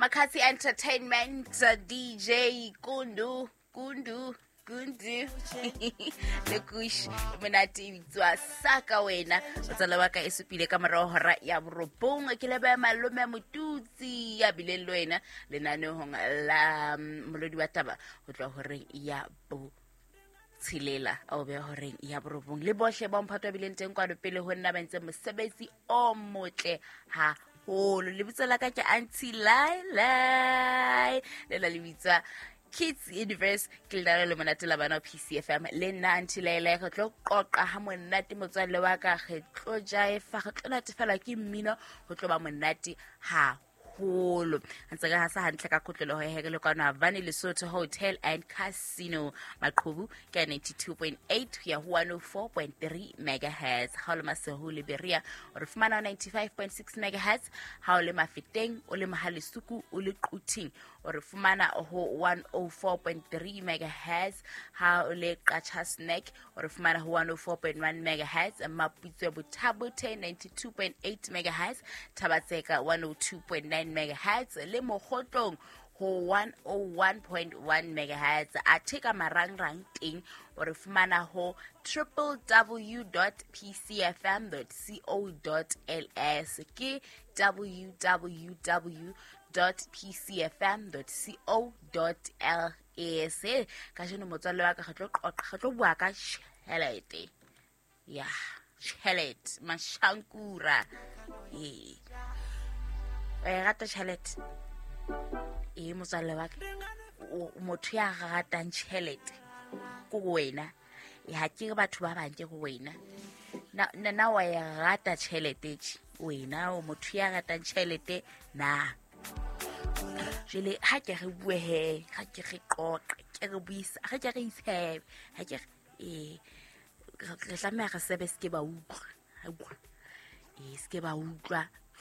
Makatsi Entertainment, DJ Kundu Kundu Kundu le Kush monate e bitswa Saka wena. Motswala wa ka e supile ka morago hora ya borobong. Ke leboha malome Motutsi ya bileng le wena lenaneong la molodi wa taba ho tloha horeng ya bo tshelela a o beha horeng ya borobong, le bohle ba mphato ba bileng teng kwano pele ho nna ba entse mosebetsi o motle haholo. Lebitso la ka ke Auntie Lailai, le la le bitswa Kids Universe, ke lenaneo le monate la bana PCFM. Le nna Auntie Lailai re tlo qoqa ha monate, motswalle wa ka, re tlo jaefa, re tlo natefelwa ke mmino, ho tlo ba monate haholo. Ntse re hasa hantle ka kotloloho ya here le kwano Havane Lesotho Hotel and Casino. Maqhubu ke 92.8 ho ya ho 104.3 megahertz. Ha o le Masehu le Berea o re fumana ho 95.6 megahertz. Ha o le Mafeteng, o le Mohalesuku, o le Quthing o re fumana ho 104.3 megahertz. Ha o le Qacha's Nek o re fumana ho 104.1 megahertz. Maputswe Bothabothe 92.8 megahertz, Thabatseka 102.9 megahertz le Mokgotlong ho 101.1 megahertz. Athe ka marangrang teng o re fumana ho www.pcfm.co.ls, ke www.pcfm.co.ls. Kajeno motswalle wa ka re tlo qoqa, re tlo bua ka tjhelete, ya tjhelete mashankura. Ee, o e rata tjhelete? Ee, motswalle wa ka, motho ya ratang tjhelete ko wena, ha ke re batho ba bang, ke go wena. Na wa e rata tjhelete tje wena? O motho ya ratang tjhelete na? Jwale ha ke re bue he, ha ke re qoqe, ke re buisa, ha ke re itshebe, ha ke re ee, re tlameha re sebe, se ke ba utlwa, ee, se ke ba utlwa.